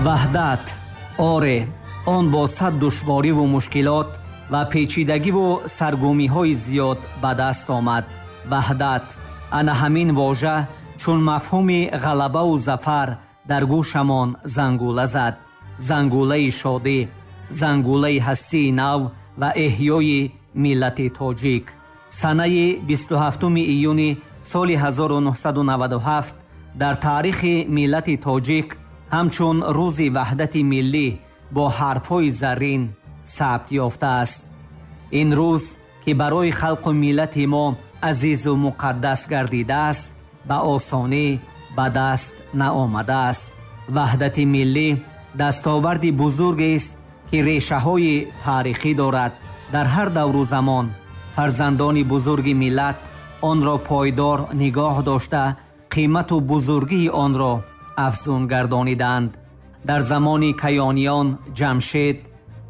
Ваҳдат, оре, он бо сад душвориву мушкилот ва печидагиву саргумиҳои зиёд ба даст омад. Ваҳдат, ана ҳамин вожа чун мафҳуми ғалабаву зафар дар гӯшамон зангула зад. Зангулаи шодӣ, зангулаи ҳастии нав ва эҳёи миллати тоҷик. Санаи 27 июни соли 1997 дар таърихи миллати тоҷик ҳамчун рӯзи ваҳдати миллӣ бо ҳарфҳои заррин сабт ёфтааст. Ин рӯз, ки барои халқу миллати мо азизу муқаддас гардидааст, ба осонӣ ба даст наомадааст. Ваҳдати миллӣ дастоварди бузургест, ки решаҳои таърихӣ дорад. Дар ҳар давру замон фарзандони бузурги миллат онро пойдор нигоҳ дошта, қимату бузургии онро афзун гардониданд. Дар замони Каёниён Ҷамшед,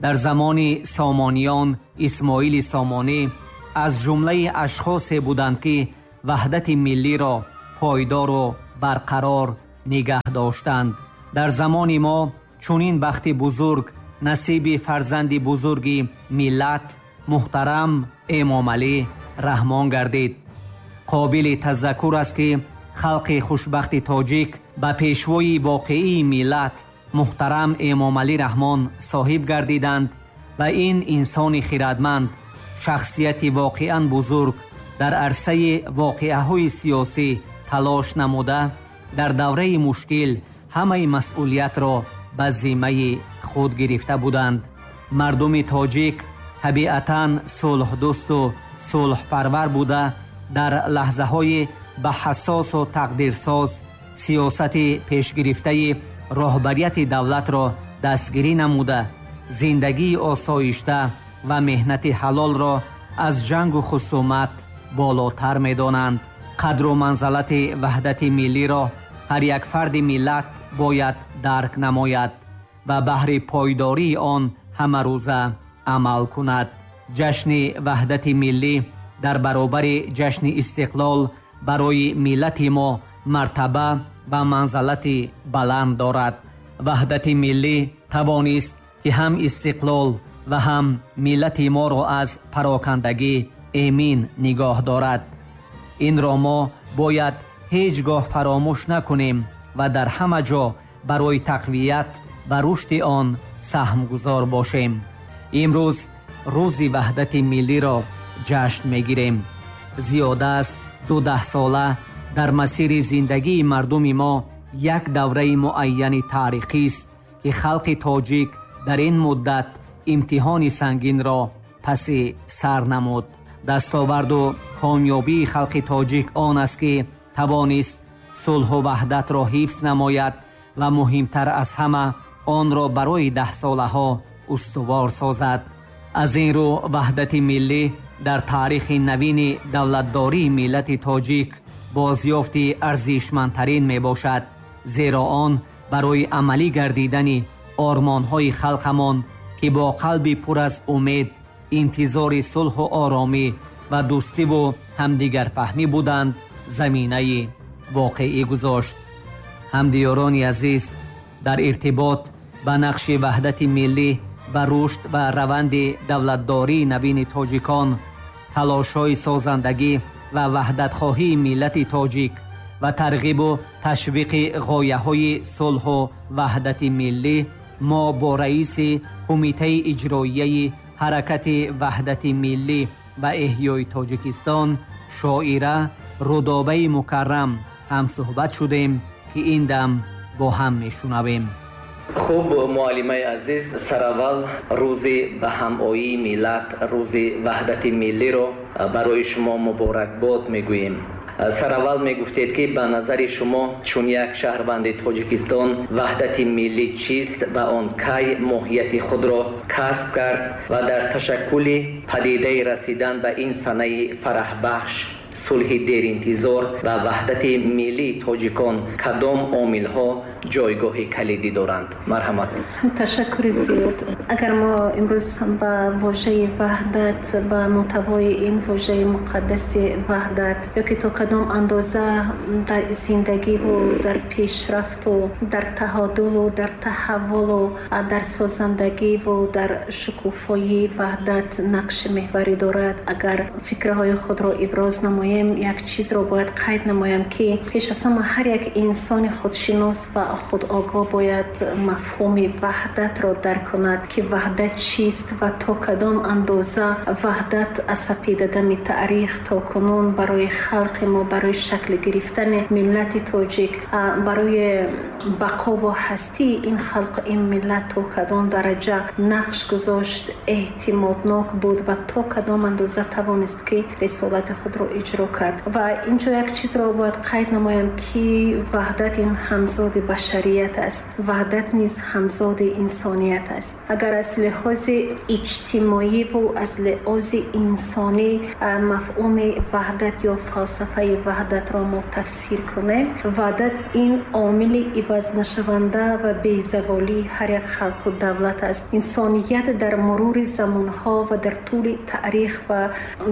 дар замони Сомониён Исмоили Сомонӣ аз ҷумлаи ашхосе буданд, ки ваҳдати миллиро пойдору барқарор нигаҳ доштанд. Дар замони мо чунин бахти бузург насиби фарзанди бузурги миллат муҳтарам Эмомалӣ Раҳмон гардид. Қобили тазаккур аст, ки халқи хушбахти тоҷик ба пешвои воқеии миллат муҳтарам Эмомалӣ Раҳмон соҳиб гардиданд ва ин инсони хирадманд, шахсияти воқеан бузург дар арсаи воқеаҳои сиёсӣ талош намуда, дар давраи мушкил ҳамаи масъулиятро ба зиммаи худ гирифта буданд. Мардуми тоҷик табиатан сулҳдӯсту сулҳпарвар буда, дар лаҳзаҳои ба ҳассосу тақдирсоз сиёсати пешгирифтаи роҳбарияти давлатро дастгирӣ намуда, зиндагии осоишта ва меҳнати ҳалолро аз ҷангу хусумат болотар медонанд. Қадру манзалати ваҳдати миллиро ҳар як фарди миллат бояд дарк намояд ва баҳри пойдории он ҳамарӯза амал кунад. Ҷашни ваҳдати миллӣ дар баробари ҷашни истиқлол барои миллати мо мартаба ва манзалати баланд дорад. Ваҳдати миллӣ тавонист, ки ҳам истиқлол ва ҳам миллати моро аз парокандагӣ эмин нигоҳ дорад. Инро мо бояд ҳеҷ гоҳ фаромӯш накунем ва дар ҳама ҷо барои тақвият ва рушди он саҳмгузор бошем. Имрӯз рӯзи ваҳдати миллиро ҷашн мегирем. Зиёда аз 12сола дар масири зиндагии мардуми мо як давраи муайяни таърихист, ки халқи тоҷик дар ин муддат имтиҳони сангинро паси сар намуд. Дастоварду комёбии халқи тоҷик он аст, ки тавонист сулҳу ваҳдатро ҳифз намояд ва муҳимтар аз ҳама онро барои даҳсолаҳо устувор созад. Аз ин рӯ ваҳдати миллӣ дар таърихи навини давлатдории миллати тоҷик бозёфти арзишмандтарин мебошад, зеро он барои амалӣ гардидани ормонҳои халқамон, ки бо қалби пур аз умед интизори сулҳу оромӣ ва дӯстиву ҳамдигарфаҳмӣ буданд, заминаи воқеӣ гузошт. Ҳамдиёрони азиз, дар иртибот ба нақши ваҳдати миллӣ ба рушд ва раванди давлатдории навини тоҷикон, талошҳои созандагӣ ва ваҳдатхоҳии миллати тоҷик ва тарғибу ташвиқи ғояҳои сулҳу ваҳдати миллӣ, мо бо раиси Кумитаи иҷроияи ҳаракати ваҳдати миллӣ ва эҳёи Тоҷикистон шоира Рудобаи Мукаррам ҳамсуҳбат шудем, ки ин дам бо ҳам мешунавем. Хуб, муаллимаи азиз, сараввал рӯзи ба ҳамоии миллат, рӯзи ваҳдати миллиро барои шумо муборакбод мегӯем. Сараввал мегуфтед, ки ба назари шумо чун як шаҳрванди Тоҷикистон ваҳдати миллӣ чист ва он кай моҳияти худро касб кард ва дар ташаккули падидаи расидан ба ин санаи фараҳбахш, сулҳи деринтизор ва ваҳдати миллии тоҷикон кадом омилҳо ҷойгоҳи калидӣ доранд. Марҳамат. Ташаккури зиёд. Агар мо имрӯз ба вожаи ваҳдат, ба мӯҳтавои ин вожаи муқаддаси ваҳдат ё ки то кадом андоза дар зиндагиву дар пешрафту дар таҳодулу дар таҳаввулу дар созандагиву дар шукуфоии ваҳдат нақши меҳварӣ дорад, агар фикрҳои худро иброз намоем, як чизро бояд қайд намоям, ки пеш аз ҳама ҳар як инсони худшинос ва худогоҳ бояд мафҳуми ваҳдатро дарк кунад, ки ваҳдат чист ва то кадом андоза ваҳдат аз сапедадами таърих то кунун барои халқи мо, барои шакл гирифтани миллати тоҷик, барои бақову ҳастии ин халқ, ин миллат то кадом дараҷа нақш гузошт, эътимоднок буд ва то кадом андоза тавонист, ки рисолати худро иҷро кард. Ва инҷо як чизро бояд қайд намоям, ки ваҳдат ин ҳамзоди башарият аст, ваҳдат низ ҳамзоди инсоният аст. Агар аз лиҳози иҷтимоиву аз лиҳози инсонӣ мафҳуми ваҳдат ё фалсафаи ваҳдатро мо тафсир кунем, ваҳдат ин омили ивазнашаванда ва безаволии ҳар як халқу давлат аст. Инсоният дар мурури замонҳо ва дар тӯли таърих ва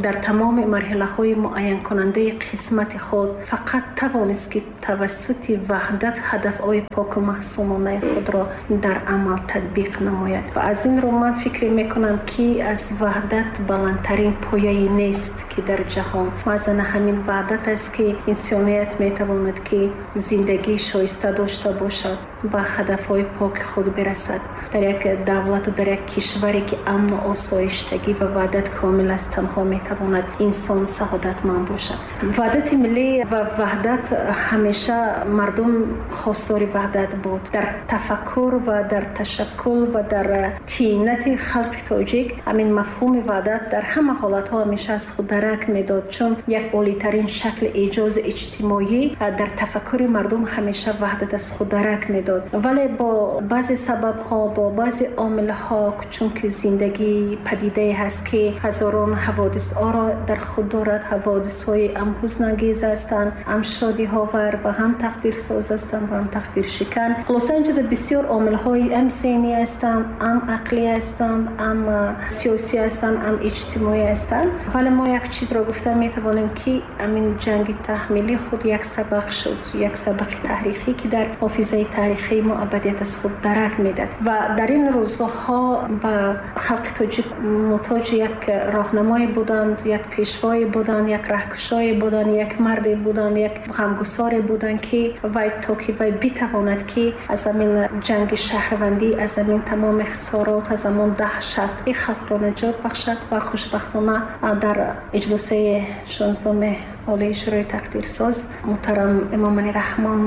дар тамоми марҳилаҳои муайянкунандаи қисмати худ фақат тавонист, ки тавассути ваҳдат ҳадафҳои поку маҳсумонаи худро дар амал татбиқ намояд. Ва аз ин рӯ ман фикр мекунам, ки аз ваҳдат баландтарин пояе нест, ки дар ҷаҳон. Маъзана ҳамин ваҳдат аст, ки инсоният метавонад, ки зиндагии шоиста дошта бошад, ба ҳадафҳои поки худ бирасад. Дар як давлату дар як кишваре, ки амну осоиштагӣ ва ваҳдат комил аст, танҳо метавонад инсон саодатманд бошад. Ваҳдати миллӣ ва ваҳдат, ҳамеша мардум хостори ваҳдат буд. Дар тафаккур ва дар ташаккул ва дар тинати халқи тоҷик ҳамин мафҳуми ваҳдат дар ҳама ҳолатҳо ҳамеша аз худ дарак медод, чун як олитарин шакли эҷози иҷтимоӣ дар тафаккури мардум ҳамеша ваҳдат аз худ дарак медод. Вале бо баъзе сабабҳо, бо баъзе омилҳо, чунки зиндагӣ падидае ҳаст, ки ҳазорон ҳаводисҳоро дар худ дорад, ҳаводисҳои ам ҳузнангез ҳастанд, ам шодиҳовар ва ҳам тақдирсоз ҳастанд ва ҳам тақдиршикан. Хулоса, инҷода бисёр омилҳои ам зеҳнӣ ҳастанд, ам ақлӣ ҳастанд, ам сиёсӣ ҳастанд, ам иҷтимоӣ ҳастанд. Вале мо як чизро гуфта метавонем, ки ҳамин ҷанги таҳмилӣ худ як сабақ шуд, як сабақи таърихӣ, ки дар ҳофизаи таърихии мо абадият аз худ дарак медад. Ва дар ин рӯзҳо ба халқи тоҷик муҳтоҷи як роҳнамое буданд, як пешвое буданд, як раҳкушое буданд, як марде буданд, як ғамгусоре буданд, ки вай то ки вай битавонад, ки аз ҳамин ҷанги шаҳрвандӣ, аз ҳамин тамоми хисорот, аз ҳамон даҳшат ин халқро наҷот бахшад. Ва хушбахтона дар иҷлосаи 16-уми Олии Шӯрои Тақдирсоз муҳтарам Эмомалӣ Раҳмон,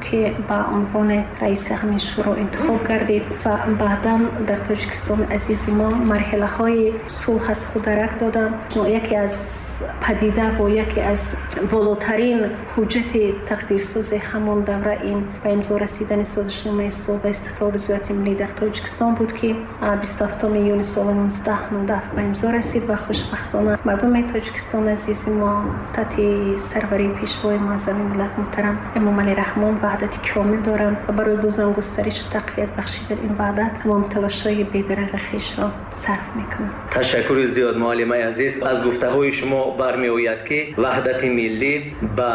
ки ба унвони раиси ҳамин шӯро интихоб гардид ва баъдан дар Тоҷикистони азизи мо марҳилаҳои сулҳ аз худ дарак доданд, яке аз падида ва яке аз волотарин ҳуҷҷати тақдирсози ҳамон давра ин ба имзо расидани созишномаи сулҳ ва истиқрори зиёати миллӣ дар Тоҷикистон буд, ки 27 июни соли 1997 ба имзо расид. Ва хушбахтона мардуми Тоҷикистони азизи мо таҳти сарварии пешвои муаззами миллат муҳтарам Эмомалӣ Раҳмон ваҳдати комил доранд ва барои бозам густаришу тақвият бахшидан ин ваҳдат тамоми талошҳои бедареғи хешро сарф мекунанд. Ташаккури зиёд, муаллимаи азиз. Аз гуфтаҳои шумо бармеояд, ки ваҳдати миллӣ ба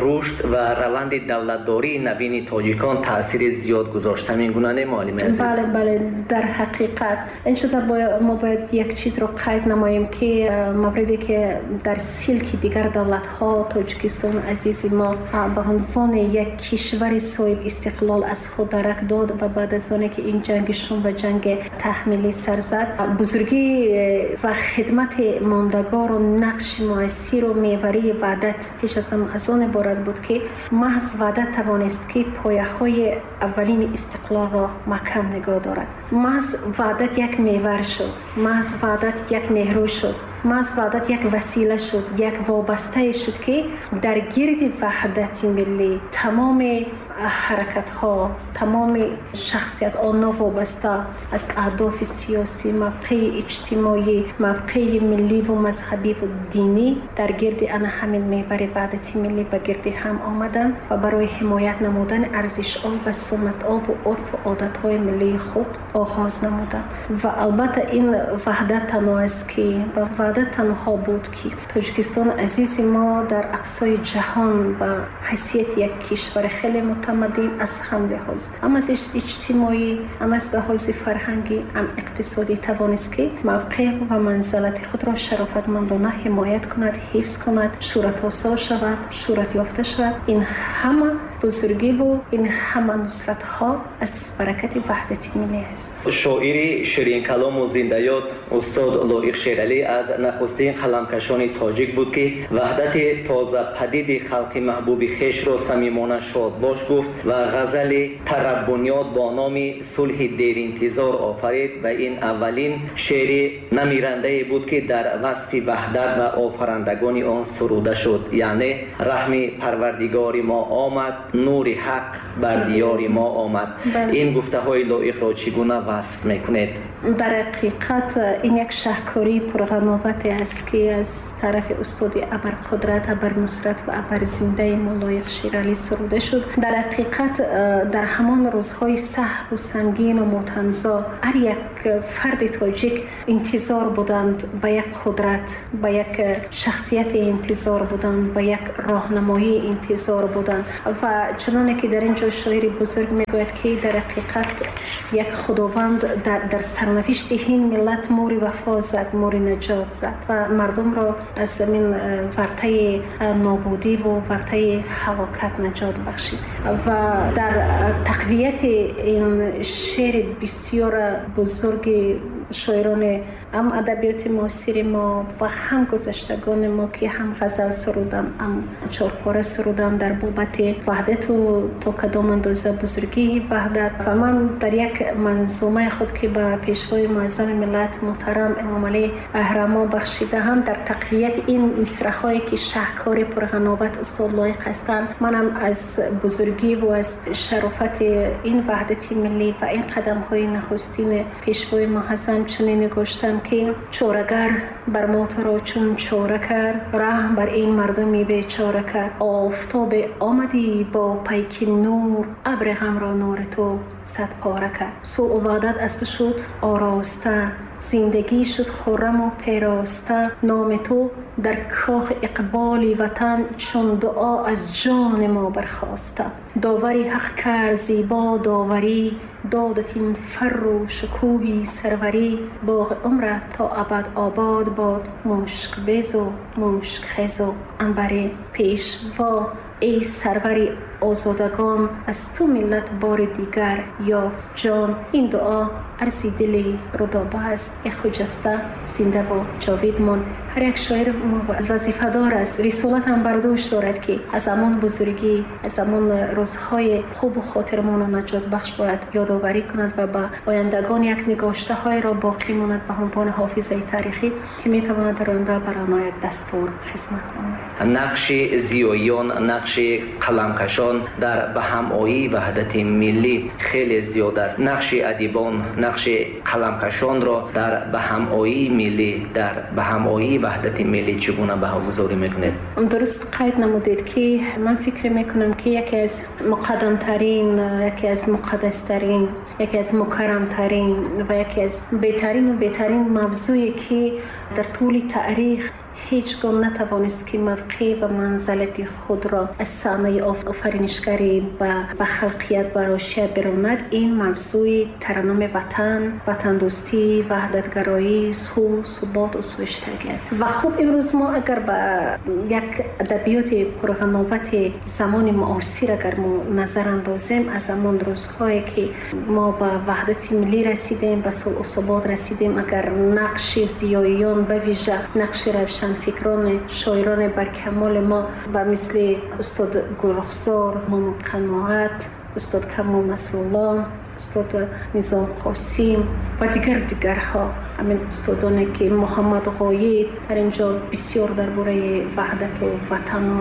рушд ва раванди давлатдории навини тоҷикон таъсири зиёд гузошт. Ҳамин гуна не, муаллимаи азиз? Бале, бале, дар ҳақиқат ин шуда мо бояд як чизро қайд намоем, ки мавриде ки дар силки дигар давлатҳо Тоҷикистони азизи мо ба унвони як кишвари соҳиб истиқлол аз худ дарак дод ва баъд аз оне ки ин ҷанги шум ва ҷанги таҳмилӣ сар зад, бузургӣ ва хидмати мондагору нақши муассиру меварии ваҳдат пеш аз ҳама аз он иборат буд, ки маҳз ваҳдат тавонист, ки пояҳои аввалини истиқлолро маҳкам нигоҳ дорад. Маҳз ваҳдат як мевар шуд, маҳз ваҳдат як нерӯ шуд, маҳз ваҳдат як васила шуд, як вобастае шуд, ки дар гирди ваҳдати миллӣ тамоми ҳаракатҳо, тамоми шахсиятҳо новобаста аз аҳдофи сиёсӣ, мавқеи иҷтимоӣ, мавқеи миллӣ ва мазҳабӣ ва динӣ дар гирди ана ҳамин меҳвари ваҳдати миллӣ ба гирди ҳам омаданд ва барои ҳимоят намудани арзишҳо ва суннатҳо ва урфу одатҳои миллии худ оғоз намуданд. Ва албатта ин ваҳдат танҳо аст ки ваҳдат танҳо буд ки Тоҷикистони азизи мо дар ақсои ҷаҳон ба ҳайсияти як кишвари хеле мутамаддин аз ҳам лиҳоз, ҳам аз иҷтимоӣ, ҳам аз лиҳози фарҳангӣ, ҳам иқтисодӣ тавонист ки мавқеъ ва манзалати худро шарофатмандона ҳимоят кунад, ҳифз кунад, шӯҳратосо шавад, шӯҳратёфта шавад. Ин ҳама бузургиву ин ҳама нусратҳо аз баракати ваҳдати миллӣ аст. Шоири ширинкалому зиндаёд устод Лоиқ Шералӣ аз нахустин қаламкашони тоҷик буд, ки ваҳдати тозападиди халқи маҳбуби хешро самимона шодбош гуфт ва ғазали тараббунёд бо номи сулҳи деринтизор офарид ва ин аввалин шеъри намирандае буд, ки дар васфи ваҳдат ва офарандагони он суруда шуд. Яъне раҳми парвардигори мо омад, нури ҳақ бар диёри мо омад. Ин гуфтаҳои Лоиқро чӣ гуна васф мекунед? Дар ҳақиқат ин як шаҳкории пурғановате аст, ки аз тарафи устоди абарқудрат, абарнусрат ва абарзиндаи мо Лоиқ Шералӣ суруда шуд. Дар ҳақиқат дар ҳамон рӯзҳои сахту сангину мотамзо ҳар як фарди тоҷик интизор буданд ба як қудрат, ба як шахсияти интизор буданд, ба як роҳнамоӣ интизор буданд. Ва чуноне ки дар ин ҷо шоири бузург мегӯяд, ки дар ҳақиқат як худованд дар сарнавишти ин миллат мури вафо зад, мури наҷот зад ва мардумро аз ин вартаи нобудӣ ва вартаи ҳалокат наҷот бахшид. Ва дар тақвияти ин шеъри бисёр бузурги шоирони ҳам адабиёти муосири мо ва ҳам гузаштагони мо, ки ҳам ғазал суруданд, ҳам чорпора суруданд дар бобати ваҳдату то кадом андоза бузургии ваҳдат. Ва ман дар як манзумаи худ, ки ба пешвои муаззами миллат муҳтарам Эмомалӣ Раҳмон бахшидаам, дар тақвияти ин мисраҳое ки шаҳкори пурғановат устод Лоиқ ҳастанд, манам аз бузургӣ ва аз шарофати ин ваҳдати миллӣ ва ин қадамҳои нахустини пешвои муаззам чунин нигоштам, ки чорагар бар мо туро чун чора кард, раҳм бар ин мардуми бечора кард. Офтобе омадӣ бо пайки нур, абри ғамро нури ту сад пора кард. Сулҳу ваҳдат аз ту шуд ороста, зиндагӣ шуд хурраму пероста. Номи ту дар кохи иқболи ватан чун дуо аз ҷони мо бархоста. Довари ҳақ кард зебо доварӣ, додат ин фарру шукӯҳи сарварӣ. Боғи умрат то абад обод бод, мушкбезу мушкхезу анбарӣ. Пешво эй сарвари озодагон, аз ту миллат бори дигар ёфт ҷон. Ин дуо арзи дили Рудоба аст, э хуҷаста зиндаву ҷовид мон. Ҳар як шоир вазифадор аст, рисолат ҳам бар дӯш дорад, ки аз ҳамон бузургӣ, аз ҳамон рӯзҳои хубу хотирмону наҷотбахш бояд ёдоварӣ кунад ва ба ояндагон як нигоштаҳоеро боқӣ монад ба ҳунвони ҳофизаи таърихӣ, ки метавонад дар оянда барои мо як дастур хизмат намояд. Нақши зиёиён, нақши қаламкашон дар ба ҳамоии ваҳдати миллӣ хеле зиёд аст. Нақши адибон, нақши қаламкашонро дар ба ҳамоии миллӣ, дар ба ҳамоии ваҳдати миллӣ чӣ гуна баҳогузорӣ мекунед? Дуруст қайд намудед, ки ман фикр мекунам, ки яке аз муқаддамтарин, яке аз муқаддастарин, яке аз мукаррамтарин ва яке аз беҳтарину беҳтарин мавзӯе, ки дар тӯли таърих ҳеҷ гоҳ натавонист, ки мавқеъ ва манзалати худро аз саҳнаи офаринишгарӣ ба халқият барошия биронад, ин мавзӯи тараннуми ватан, ватандӯстӣ, ваҳдатгароӣ, сулҳ, субот ва суиштагӣ аст. Ва хуб, имрӯз мо агар ба як адабиёти пурғановати замони муосир агар мо назар андозем, аз ҳамон рӯзҳое ки мо ба ваҳдати миллӣ расидем, ба сулҳу субот расидем, агар нақши зиёиён, ба вижа нақши равшанфикрони, шоирони баркамоли мо ба мисли устод Гулрухсор, Мамуд Қаноат, устод Камол Насрулло, устод Низом Қосим ва дигар дигарҳо Ҳамин устодоне ки Муҳаммад Ғоиб дар инҷо бисёр дар бораи ваҳдату ватану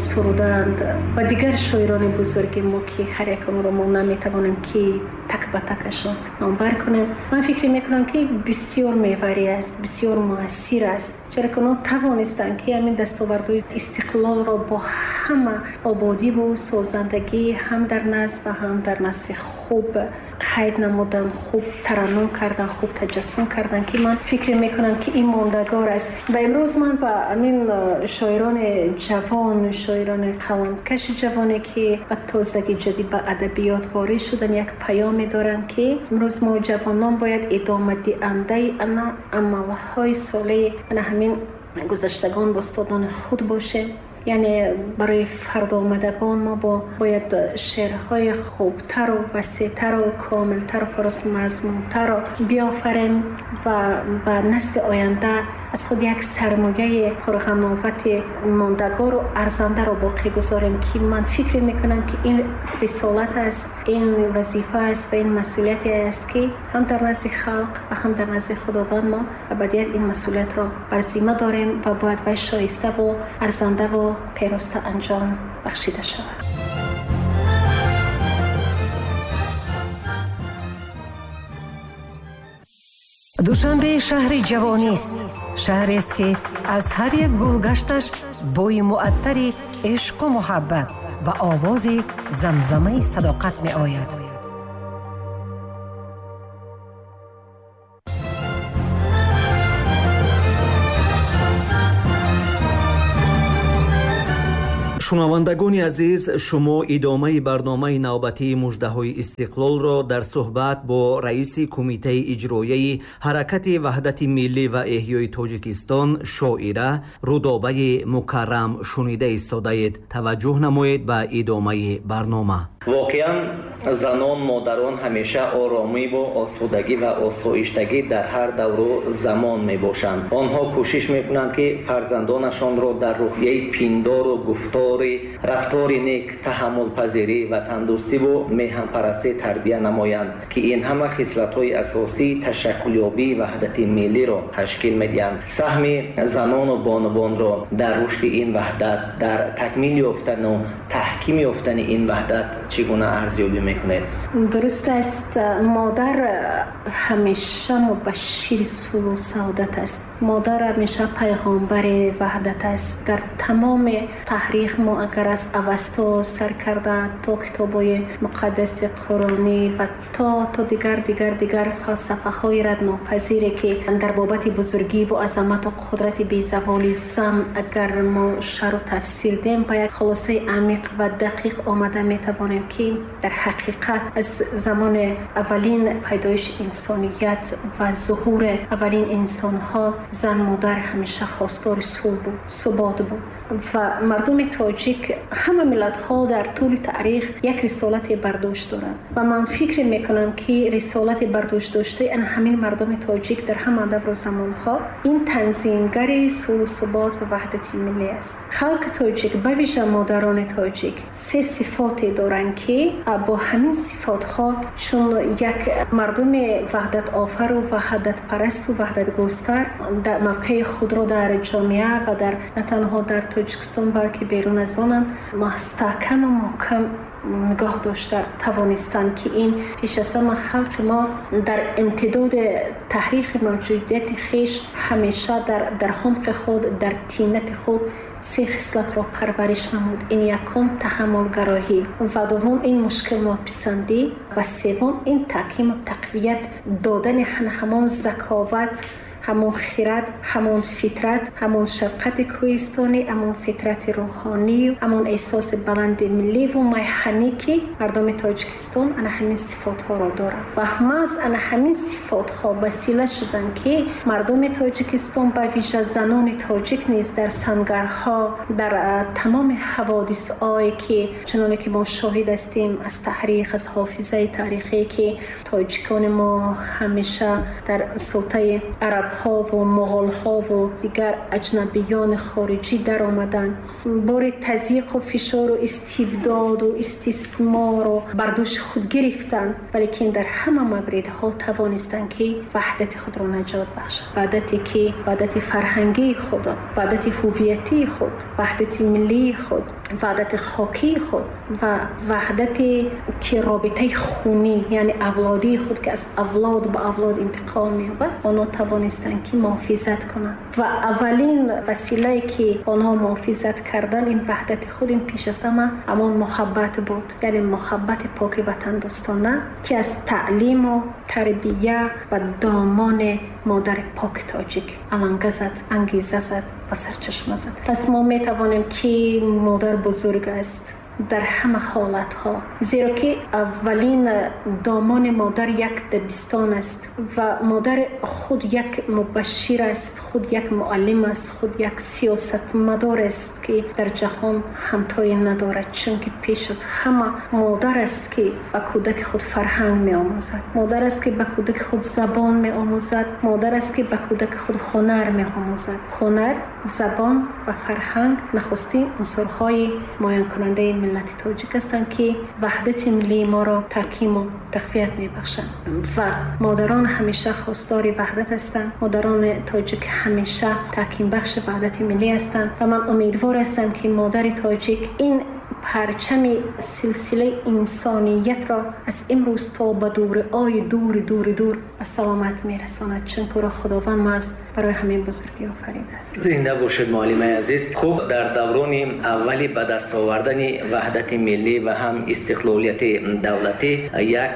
суруданд ва дигар шоирони бузурги мо, ки ҳар як онро мо наметавонем ки так ба такашон номбар кунем. Ман фикр мекунам, ки бисёр меварӣ аст, бисёр муассир аст, чаро ки онҳо тавонистанд, ки ҳамин дастовардҳои истиқлолро бо ҳама ободиву созандагӣ ҳам дар назм ва ҳам дар насри хуб қайд намудан, хуб тараннум кардан, хуб таҷассум кардан, ки ман фикр мекунам, ки ин мондагор аст. Ва имрӯз ман ба ҳамин шоирони ҷавон, шоирони қаламкаши ҷавоне, ки ба тозагӣ ҷадид ба адабиёт ворид шудан, як паёме дорам, ки имрӯз мо ҷавонон бояд идомадиҳандаи ана амалҳои солеҳи ана ҳамин гузаштагон бо устодони худ бошем. Яъне барои фардоомадагон мо бояд шеърҳои хубтару васеътару комилтару пурмазмунтарро биёфарем ва ба насли оянда аз худ як сармояи пурғановати мондагору арзандаро боқӣ гузорем, ки ман фикр мекунам, ки ин рисолат аст, ин вазифа аст ва ин масъулияте аст, ки ҳам дар назди халқ ва ҳам дар назди Худованд мо абадият ин масъулиятро бар зимма дорем ва бояд вай шоиставу арзандаву пероста анҷом бахшида шавад. Душанбе шаҳри ҷавонист, шаҳрест, ки аз ҳар як гулгашташ бӯи муаттари ишқу муҳаббат ва овози замзамаи садоқат меояд. Шунавандагони азиз, шумо идомаи барномаи навбатии муждаҳои истиқлолро дар суҳбат бо раиси Кумитаи иҷроияи Ҳаракати ваҳдати миллӣ ва эҳёи Тоҷикистон, шоира Рудобаи Мукаррам шунида истодаед. Таваҷҷӯҳ намоед ба идомаи барнома. Воқеан, занон, модарон ҳамеша оромиву осудагӣ ва осоиштагӣ дар ҳар давру замон мебошанд. Онҳо кӯшиш мекунанд, ки фарзандонашонро дар рӯҳияи пиндору гуфтори, рафтори нек, таҳаммулпазирӣ, ватандӯстиву меҳанпарастӣ тарбия намоянд, ки ин ҳама хислатҳои асосии ташаккулёбии ваҳдати миллиро ташкил медиҳанд. Саҳми занону бонувонро дар рушди ин ваҳдат, дар такмил ёфтану таҳким ёфтани ин ваҳдат чӣ гуна арзёбӣ мекунед? Дуруст аст, модар ҳамеша мубашшири сулҳу саодат аст. Модар ҳамеша пайғомбари ваҳдат аст. Дар тамоми таърих мо агар аз Авасто сар карда то китобҳои муқаддаси қуронӣ ва то дигар дигар дигар фалсафаҳои раднопазире, ки дар бобати бузургӣ ва азамату қудрати безаволи зан агар мо шарҳу тафсир дем, ба як хулосаи амиқ ва дақиқ омада метавонем, ки дар ҳақиқат аз замони аввалин пайдоиши инсоният ва зуҳури аввалин инсонҳо зан, модар ҳамеша хостори сулҳ буд, субот буд. Ва мардуми тоҷик, ҳама миллатҳо дар тӯли таърих як рисолате бардошт доранд ва ман фикр мекунам, ки рисолати бардошт доштаи ана ҳамин мардуми тоҷик дар ҳама давру замонҳо ин танзимгари сулҳу субот ва ваҳдати миллӣ аст. Халқи тоҷик, ба вижа модарони тоҷик, се сифоте доранд, ки бо ҳамин сифотҳо чун як мардуми ваҳдатофару ваҳдатпарасту ваҳдатгустар дар мавқеи худро дар ҷомеа ва дар на танҳо дар Тоҷикистон, балки берун аз онам мустаҳкаму муҳкам нигоҳ дошта тавонистанд, ки ин пеш аз ҳама халқи мо дар имтидоди таърихи мавҷудияти хеш ҳамеша дар ҳумқи худ, дар тинати худ се хислатро парвариш намуд. Ин якум таҳаммулгароҳӣ ва дуввум ин мушкилнописандӣ ва севум ин таҳкиму тақвият додани ҳамон заковат, ҳамон хирад, ҳамон фитрат, ҳамон шафқати кӯҳистонӣ, ҳамон фитрати рӯҳонӣ, ҳамон эҳсоси баланди милливу майҳанӣ, ки мардуми Тоҷикистон ана ҳамин сифотҳоро доранд. Ва маҳз ана ҳамин сифотҳо васила шуданд, ки мардуми Тоҷикистон, ба вижа занони тоҷик низ дар сангарҳо, дар тамоми ҳаводисҳое, ки чуноне ки мо шоҳид ҳастем аз таърих, аз ҳофизаи таърихие, ки тоҷикони мо ҳамеша дар султаи араб Арабҳо ва муғулҳо ва дигар аҷнабиёни хориҷӣ даромаданд, бори тазйиқ ва фишор ва истибдод ва истисмор ро бар дӯши худ гирифтанд, валекин дар ҳама мавридҳо тавонистанд, ки ваҳдати худро наҷот бахшанд. Ваҳдате ки ваҳдати фарҳангии худ, ваҳдати ҳувиятии худ, ваҳдати миллии худ, ваҳдати хокии худ ва ваҳдате ки робитаи хунӣ, яъне авлодии худ, ки аз авлод ба авлод интиқол меёбад, онҳо тавонистанд, ки муҳофизат кунанд. Ва аввалин василае ки онҳо муҳофизат кардан ин ваҳдати худ, ин пеш аз ҳама ҳамон муҳаббат буд, яъне муҳаббати поки ватандӯстона, ки аз таълиму тарбия ва домони модари поки тоҷик аланга зад, ангеза зад ва сарчашма зад. Пас мо метавонем, ки модар бузург аст дар ҳама ҳолатҳо, зеро ки аввалин домони модар як дабистон аст ва модар худ як мубашшир аст, худ як муаллим аст, худ як сиёсатмадор аст, ки дар ҷаҳон ҳамтое надорад. Чунки пеш аз ҳама модар аст, ки ба кӯдаки худ фарҳанг меомӯзад, модар аст, ки ба кӯдаки худ забон меомӯзад, модар аст, ки ба кӯдаки худ ҳунар меомӯзад. Ҳунар, забон ва фарҳанг нахустин унсурҳои муайянкунандаи миллати тоҷик ҳастанд, ки ваҳдати миллии моро таҳкиму тақвият мебахшанд. Ва модарон ҳамеша хостори ваҳдат ҳастанд, модарони тоҷик ҳамеша таҳкимбахши ваҳдати миллӣ ҳастанд ва ман умедвор ҳастам, ки модари тоҷик ин парчами силсилаи инсониятро аз имрӯз то ба дурҳои дури дури дур ба саломат мерасонад, чунки ӯро Худованд маҳз барои ҳамин бузургӣ офаридааст. Зинда бошед, муаллимаи азиз. Хуб, дар даврони аввали ба даст овардани ваҳдати миллӣ ва ҳам истиқлолияти давлатӣ як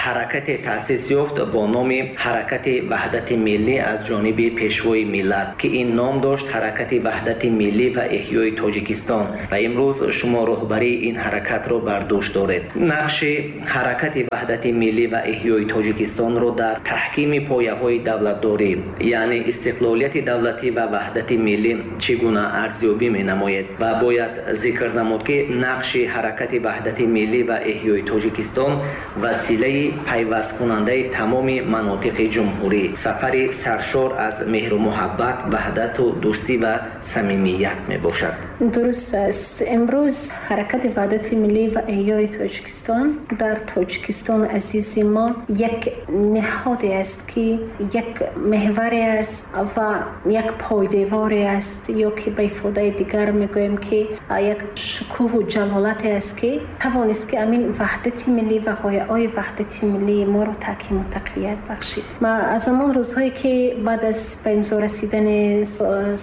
ҳаракате таъсис ёфт бо номи Ҳаракати ваҳдати миллӣ аз ҷониби Пешвои миллат, ки ин ном дошт Ҳаракати ваҳдати миллӣ ва эҳёи Тоҷикистон, ва имрӯз шумо роҳбарии ин ҳаракатро бар дӯш доред. Нақши Ҳаракати ваҳдати миллӣ ва эҳёи Тоҷикистонро дар таҳкими пояҳои давлатдорӣ, яъне истиқлолияти давлатӣ ва ваҳдати миллӣ чӣ гуна арзёбӣ менамоед? Ва бояд зикр намуд, ки нақши Ҳаракати ваҳдати миллӣ ва эҳёи Тоҷикистон василаи пайвасткунандаи тамоми манотиқи ҷумҳурӣ, сафари саршор аз меҳру муҳаббат, ваҳдату дӯстӣ ва самимият мебошад. Дуруст аст. Имрӯз Ҳаракати ваҳдати миллӣ ва эҳёи Тоҷикистон дар Тоҷикистони азизи мо як ниҳоде аст, ки як меҳваре аст ва як пойдеворе аст, ё ки ба ифодаи дигар мегӯем, ки як шукӯҳу ҷалолате аст, ки тавонист, ки ҳамин ваҳдати миллӣ ва ғояҳои ваҳдати миллии моро таҳкиму тақвият бахшид. Ма аз ҳамон рӯзҳое, ки баъд аз ба имзо расидани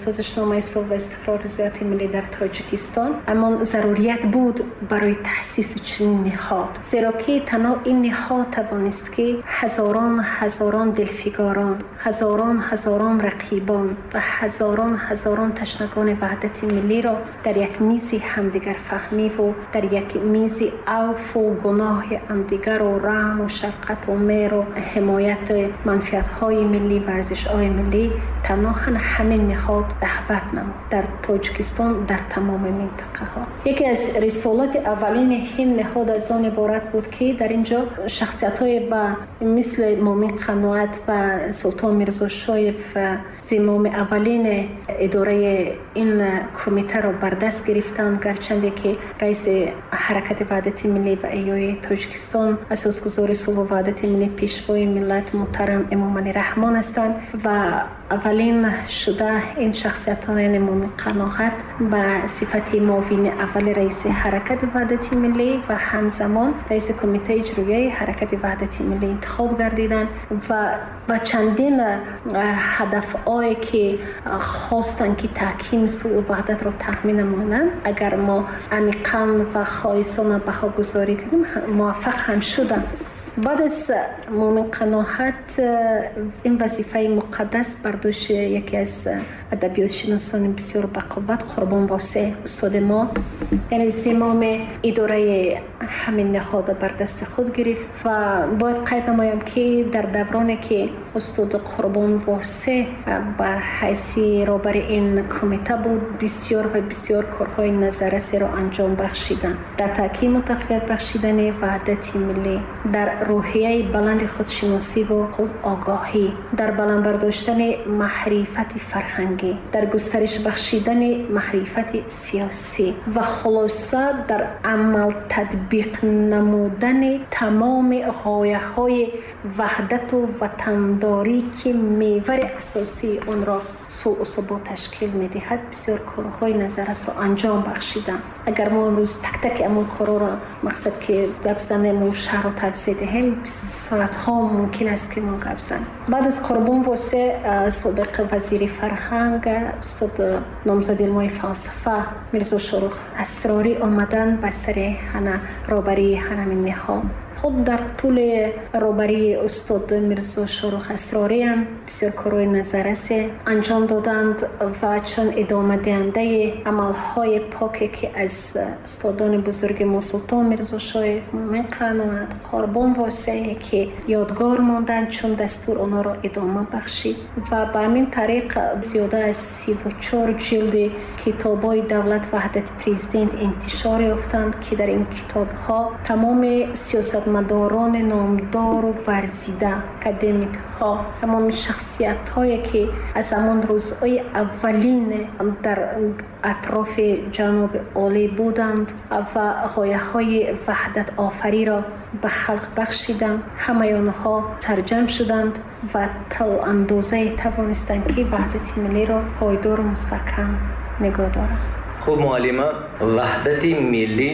Созишномаи сулҳ ва истиқрори зиёати миллӣ дар Тоҷикистон, ҳамон зарурият буд барои таъсиси чунин ниҳод, зеро ки танҳо ин ниҳод тавонист, ки ҳазорон ҳазорон дилфигорон, ҳазорон ҳазорон рақибон ва ҳазорон ҳазорон ташнагони ваҳдати миллиро дар як мизи ҳамдигарфаҳмиву дар як мизи авфу гуноҳи ҳамдигару раҳму шафқату меҳру ҳимояти манфиатҳои миллӣ ва арзишҳои миллӣ танҳо ҳамин ниҳод даъват намуд дар Тоҷикистон, дар тамоми минтақаҳо. Яке аз рисолати аввалини ин ниҳод аз он иборат буд, ки дар ин ҷо шахсиятҳое ба мисли Мумин Қаноат ва Султон Мирзошоев зимоми аввалини идораи ин кумитаро бар даст гирифтанд. Гарчанде ки раиси Ҳаракати ваҳдати миллӣ ва эҳёи Тоҷикистон, асосгузори сулҳу ваҳдати миллӣ, Пешвои миллат муҳтарам Эмомалӣ Раҳмон ҳастанд ва аввалин шуда ин шахсиятҳо, яъне Мумин Қаноат ба сифати муовини аввали раиси Ҳаракати ваҳдати миллӣ ва ҳамзамон раиси Кумитаи иҷроияи Ҳаракати ваҳдати миллӣ интихоб гардиданд ва ба чандин ҳадафҳое, ки хостанд, ки таҳкими сулҳу ваҳдатро таъмин намоянд, агар мо амиқан ва холисона баҳогузорӣ кунем, муваффақ ҳам шуданд. Баъд аз Мумин Қаноат ин вазифаи муқаддас бар дӯши яке аз адабиётшиносони бисёр бақувват, Қурбон Восеъ устоди мо, яъне зимоми идораи ҳамин ниҳода бар дасти худ гирифт. Ва бояд қайд намоям, ки дар давроне, ки устод Қурбон Восеъ ба ҳайси роҳбари ин кумита буд, бисёр ва бисёр корҳои назаррасеро анҷом бахшиданд дар таҳкиму тақвият бахшидани ваҳдати миллӣ, дар рӯҳияи баланди худшиносӣ ва худогоҳӣ, дар баланд бардоштани маърифати фарҳангӣ, дар густариш бахшидани маърифати сиёсӣ ва хулоса дар амал татбиқ намудани тамоми ғояҳои ваҳдату ватандорӣ, ки мевари асосии онро сулҳу субот ташкил медиҳад, бисёр корҳои назаррасро анҷом бахшиданд. Агар мо имрӯз так-таки ҳамон корҳоро мақсад ки гап занем ва шаҳрро тавзеҳ диҳем, соатҳо мумкин аст ки мо гап занем. Баъд аз Қурбон Восеъ, собиқ вазири фарҳанг, устод номзади илмҳои фалсафа Мирзо Шоҳрух Асрорӣ омаданд бар сари ҳана роҳбарии ҳамин ниҳод. Хуб, дар тӯли роҳбарии устод Мирзо Шоҳрух Асрорӣ ҳам бисёр корҳои назаррасе анҷом доданд ва чун идомадиҳандаи амалҳои поке ки аз устодони бузурги мо Султон Мирзошоев, Мӯмин Қаноат, Қурбон Восеъе ки ёдгор монданд, чун дастур онҳоро идома бахшид ва ба ҳамин тариқ зиёда аз 34 ҷилди китобҳои давлат ваҳдати президент интишор ёфтанд, ки дар ин китобҳо тамоми сиёсатмадорони номдору варзида, академикҳо, тамоми шахсиятҳое ки аз ҳамон рӯзҳои аввалин дар атрофи ҷаноби олӣ буданд ва ғояҳои ваҳдатофариро ба халқ бахшиданд, ҳамаи онҳо сарҷамъ шуданд ва то андозае тавонистанд ки ваҳдати миллиро пойдору мустаҳкам нигоҳ доранд. Хуб, муаллима, ваҳдати миллӣ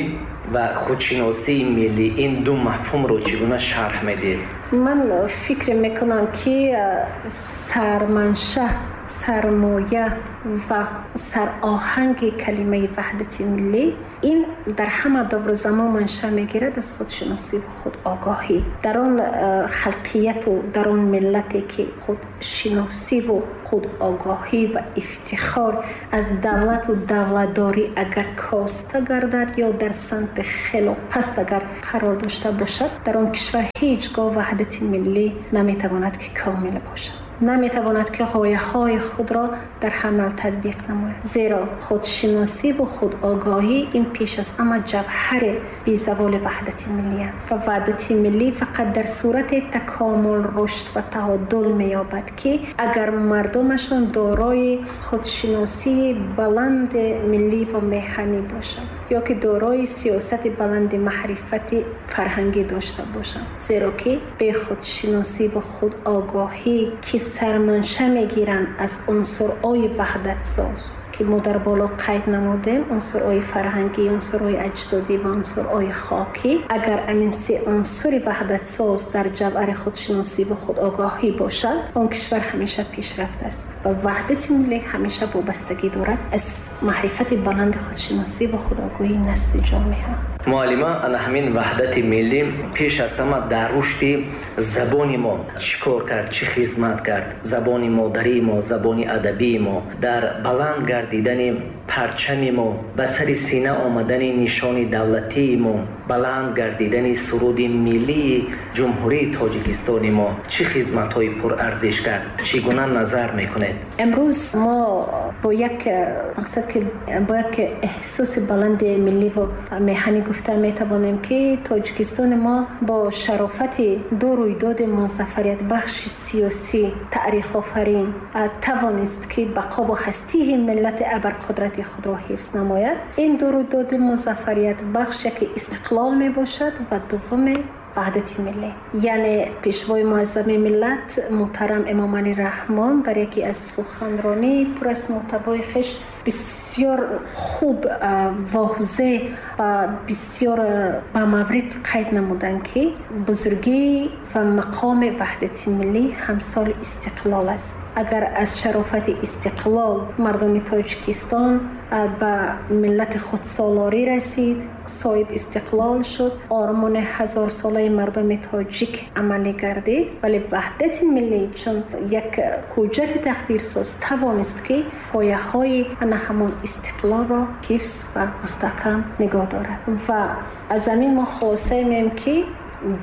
ва худшиносии миллӣ, ин ду мафҳумро чӣ гуна шарҳ медиҳед? Ман фикр мекунам, ки сарманша, сармоя ва сароҳанги калимаи ваҳдати миллӣ ин дар ҳама давру замон манша мегирад аз худшиносӣ ва худогоҳӣ. Дар он халқияту дар он миллате ки худшиносиву худогоҳӣ ва ифтихор аз давлату давлатдорӣ агар коста гардад ё дар самти хело паст агар қарор дошта бошад, дар он кишвар ҳеҷ гоҳ ваҳдати миллӣ наметавонад ки комил бошад, наметавонад ки ғояҳои худро дар амал татбиқ намояд. Зеро худшиносӣ ва худогоҳӣ ин пеш аз ҳама ҷавҳари безаволи ваҳдати миллӣ аст ва ваҳдати миллӣ фақат дар сурати такомул, рушд ва таъодул меёбад, ки агар мардумашон дорои худшиносии баланди миллӣ ва меҳанӣ бошанд ё ки дорои сиёсати баланди маърифати фарҳангӣ дошта бошанд. Зеро ки бе худшиносӣ ва худогоҳӣ ки сарманша мегиранд аз унсурҳои ваҳдатсоз, ки мо дар боло қайд намудем, унсурҳои фарҳангӣ, унсурҳои аҷдодӣ ва унсурҳои хокӣ, агар ҳамин се унсури ваҳдатсоз дар ҷавҳари худшиносӣ ва худогоҳӣ бошад, он кишвар ҳамеша пешрафт аст ва ваҳдати миллӣ ҳамеша вобастагӣ дорад аз маърифати баланди худшиносӣ ва худогоҳии насли ҷомеа. Муаллима, ана ҳамин ваҳдати миллӣ пеш аз ҳама дар рушди забони мо чӣ кор кард, чӣ хизмат кард? Забони модарии мо, забони адабии мо, дар баланд гардидани парчами мо, ба сари сина омадани нишони давлатии мо, баланд гардидани суруди миллии Ҷумҳурии Тоҷикистони мо чӣ хизматҳои пурарзиш кард? Чӣ гуна назар мекунед? Имрӯз мо бо як мақсад ки бо як эҳсоси баланди миллӣ ва меҳанӣ гуфта метавонем, ки Тоҷикистони мо бо шарофати ду рӯйдоди музаффариятбахши сиёсӣ таърихофарин тавонист, ки бақову ҳастии миллати абарқудрати худро ҳифз намояд. Ин ду рӯйдоди музаффариятбахш яке истиқлол мебошад ва дуввуме ваҳдати миллӣ. Яъне пешвои муаззами миллат муҳтарам Эмомалӣ Раҳмон дар яке аз суханронии пур аз муҳтавои хеш бисёр хуб, возеҳ ва бисёр ба маврид қайд намуданд, ки бузургӣ ва мақоми ваҳдати миллӣ ҳамсоли истиқлол аст. Агар аз шарофати истиқлол мардуми Тоҷикистон ба миллати худсолорӣ расид, соҳиб истиқлол шуд, ормони ҳазорсолаи мардуми тоҷик амалӣ гардид, вале ваҳдати миллӣ чун як ҳуҷҷати тақдирсоз тавонист, ки пояҳои ана ҳамон истиқлолро ҳифз ва мустаҳкам нигоҳ дорад. Ва аз ҳамин мо хулоса меем, ки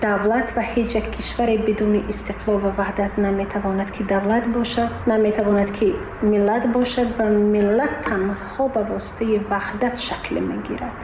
давлат ва ҳеҷ як кишваре бидуни истиқлол ва ваҳдат наметавонад ки давлат бошад, наметавонад ки миллат бошад ва миллат танҳо ба воситаи ваҳдат шакл мегирад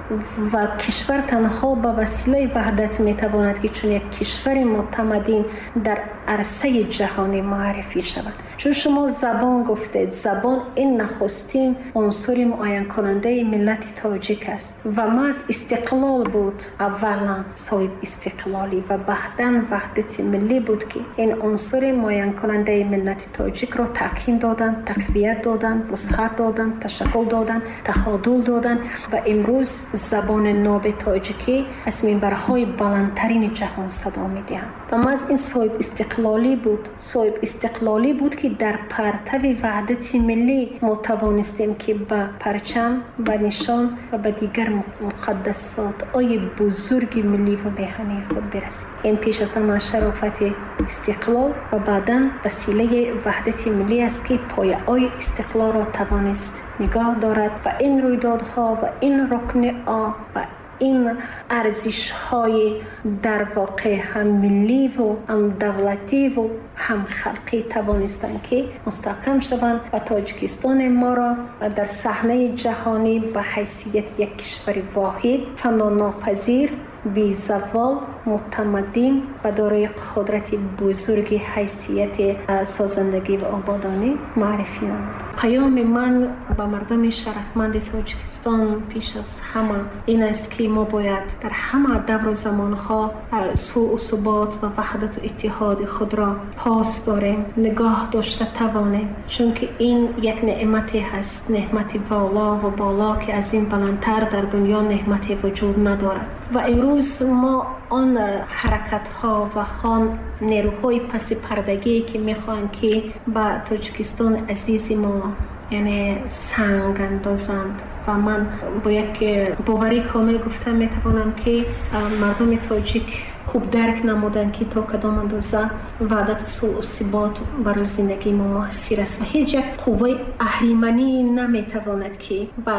ва кишвар танҳо ба василаи ваҳдат метавонад ки чун як кишвари мутамаддин дар арсаи ҷаҳонӣ муаррифӣ шавад. Чун шумо забон гуфтед, забон ин нахустин унсури муайянкунандаи миллати тоҷик аст ва маҳз истиқлол буд аввалан соҳиб истиқлолӣ ва баъдан ваҳдати миллӣ буд ки ин унсури муайянкунандаи миллати тоҷикро таъкид доданд, тақвият доданд, вусъат доданд, ташаккул доданд, таҳодул доданд ва имрӯз забони ноби тоҷикӣ аз минбарҳои баландтарини ҷаҳон садо медиҳанд. Ва маҳз ин соҳиб истиқлолӣ буд, соҳиб истиқлолӣ буд ки дар партави ваҳдати миллӣ мо тавонистем ки ба парчам, ба нишон ва ба дигар муқаддасотҳои бузурги миллӣ ва меҳании худ бирасем. Ин пеш аз ҳама шарофати истиқлол ва баъдан василаи ваҳдати миллӣ аст ки пояҳои истиқлолро тавонист нигоҳ дорад ва ин рӯйдодҳо ва ин рукни ва ин арзишҳои дар воқеъ ҳам миллӣ ва ҳам давлатӣ ва ҳам халқӣ тавонистанд ки мустаҳкам шаванд ва Тоҷикистони моро дар саҳнаи ҷаҳонӣ ба ҳайсияти як кишвари воҳид, фанонопазир, безавол, мутамаддин ва дорои қудрати бузурги ҳайсияти созандагӣ ва ободонӣ муаррифӣ намуд. Паёми ман ба мардуми шарафманди Тоҷикистон пеш аз ҳама ин аст ки мо бояд дар ҳама давру замонҳо сулҳу субот ва ваҳдату иттиҳоди худро пос дорем, нигоҳ дошта тавонем, чунки ин як неъмате ҳаст, неъмати воло ва боло ки аз ин баландтар дар дунё неъмате вуҷуд надорад. Ва имрӯз мо он ҳаракатҳо ва он нерӯҳои пасипардагие ки мехоҳанд ки ба Тоҷикистони азизи мо яъне санг андозанд ва ман бо як боварӣ комил гуфта метавонам ки мардуми тоҷик хуб дарк намуданд ки то кадом андоза ваҳдату сулҳу субот барои зиндагии мо муассир аст ва ҳеҷ як қувваи аҳриманӣ наметавонад ки ба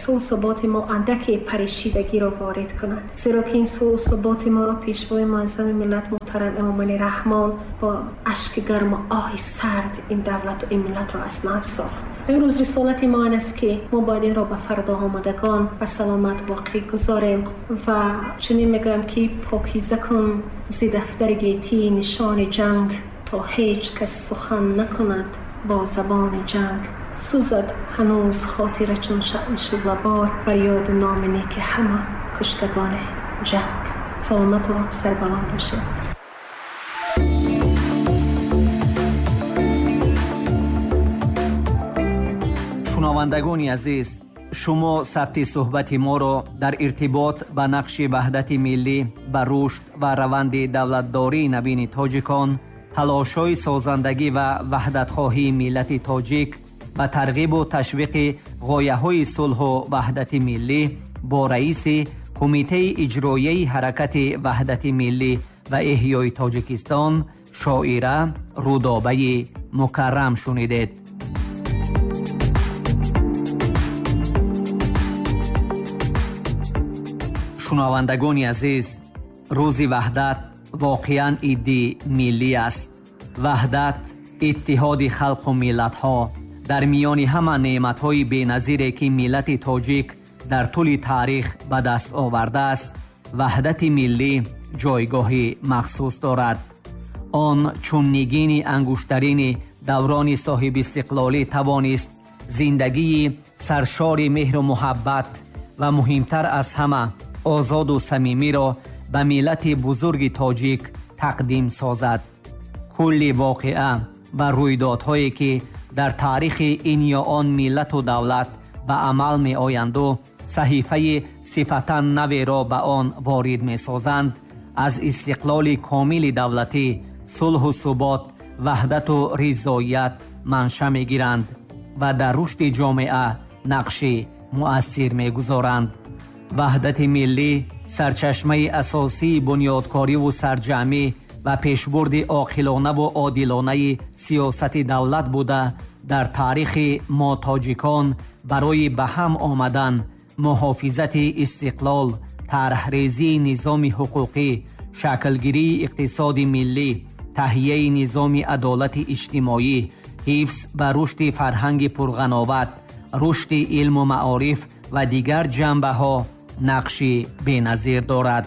сулҳу суботи мо андаке парешидагиро ворид кунад, зеро ки ин сулҳу суботи моро пешвои муаззами миллат муҳтарам Эмомалӣ Раҳмон бо ашки гарму оҳи сард ин давлату ин миллатро аз нав сохт. Имрӯз рисолати мо он аст ки мо бояд инро ба фардо омадагон ба саломат боқӣ гузорем ва чунин мегӯям ки покиза кун зи дафтари гетӣ нишони ҷанг, то ҳеҷ кас сухан накунад бо забони ҷанг. Сӯзад ҳанӯз хотира чун шаъми шӯълабор бар ёду номи неки ҳама куштагони ҷанг. Саломату сарбаланд бошед. Шунавандагони азиз, шумо сабти суҳбати моро дар иртибот ба нақши ваҳдати миллӣ, ба рушд ва раванди давлатдории навини тоҷикон, талошҳои созандагӣ ва ваҳдатхоҳии миллати тоҷик ба тарғибу ташвиқи ғояҳои сулҳу ваҳдати миллӣ бо раиси Кумитаи иҷроияи ҳаракати ваҳдати миллӣ ва эҳёи Тоҷикистон шоира Рудобаи Мукаррам шунидед. Шунавандагони азиз, рӯзи ваҳдат воқеан иди миллӣ аст. Ваҳдат иттиҳоди халқу миллатҳо дар миёни ҳама неъматҳои беназире ки миллати тоҷик дар тӯли таърих ба даст овардааст, ваҳдати миллӣ ҷойгоҳи махсус дорад. Он чун нигини ангуштарини даврони соҳибистиқлолӣ тавонист зиндагии саршори меҳру муҳаббат ва муҳимтар аз ҳама озоду самимиро ба миллати бузурги тоҷик тақдим созад. Кулли воқеа ва рӯйдодҳое ки дар таърихи ин ё он миллату давлат ба амал меоянду саҳифаи сифатан наверо ба он ворид месозанд, аз истиқлоли комили давлатӣ, сулҳу субот, ваҳдату ризоият манша мегиранд ва дар рушди ҷомеа нақши муассир мегузоранд. Ваҳдати миллӣ сарчашмаи асосии бунёдкориву сарҷамъӣ ва пешбурди оқилонаву одилонаи сиёсати давлат буда, дар таърихи мо тоҷикон барои ба ҳам омадан, муҳофизати истиқлол, тарҳрезии низоми ҳуқуқӣ, Шаклгирии иқтисоди миллӣ, таҳияи низоми адолати иҷтимоӣ, ҳифз ва рушди фарҳанги пурғановат, рушди илму маориф ва дигар ҷанбаҳо нақши беназир дорад.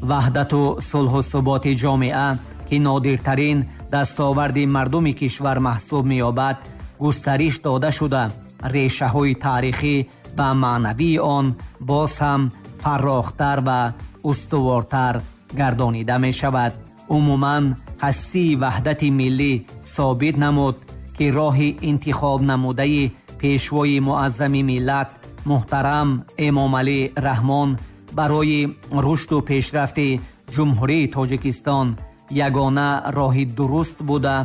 Ваҳдату сулҳу суботи ҷомеа, ки нодиртарин дастоварди мардуми кишвар маҳсуб меёбад, густариш дода шуда, решаҳои таърихӣ ва маънавии он боз ҳам фаррохтар ва устувортар гардонида мешавад. Умуман, ҳастии ваҳдати миллӣ собит намуд, ки роҳи интихоб намудаи пешвои муаззами миллат муҳтарам Эмомалӣ Раҳмон барои рушду пешрафти Ҷумҳурии Тоҷикистон ягона роҳи дуруст буда,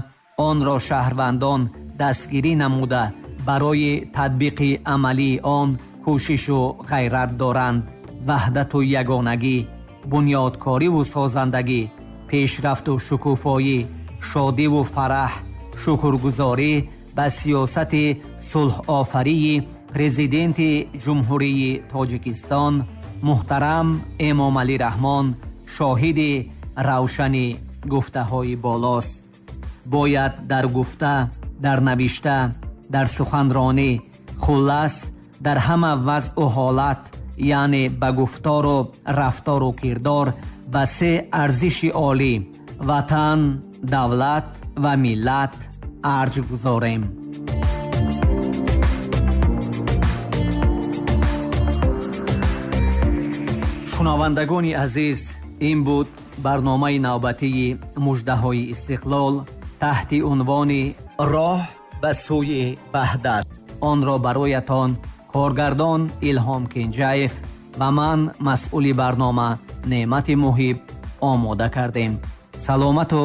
онро шаҳрвандон дастгирӣ намуда, барои татбиқи амалии он кӯшишу ғайрат доранд. Ваҳдату ягонагӣ, бунёдкориву созандагӣ, пешрафту шукуфоӣ, шодиву фараҳ, шукргузорӣ ба сиёсати сулҳофарии Президенти Ҷумҳурии Тоҷикистон муҳтарам Эмомалӣ Раҳмон шоҳиди равшани гуфтаҳои болост. Бояд дар гуфта, дар навишта, дар суханронӣ, хуллас дар ҳама вазъу ҳолат, яъне ба гуфтору рафтору кирдор ба се арзиши олӣ ватан, давлат ва миллат арҷ гузорем. Шунавандагони азиз, ин буд барномаи навбатии муждаҳои истиқлол таҳти унвони роҳ ба сӯи ваҳдат. Онро бароятон коргардон Илҳом Кенҷаев ва ман, масъули барнома Неъмати Муҳиб, омода кардем. Саломату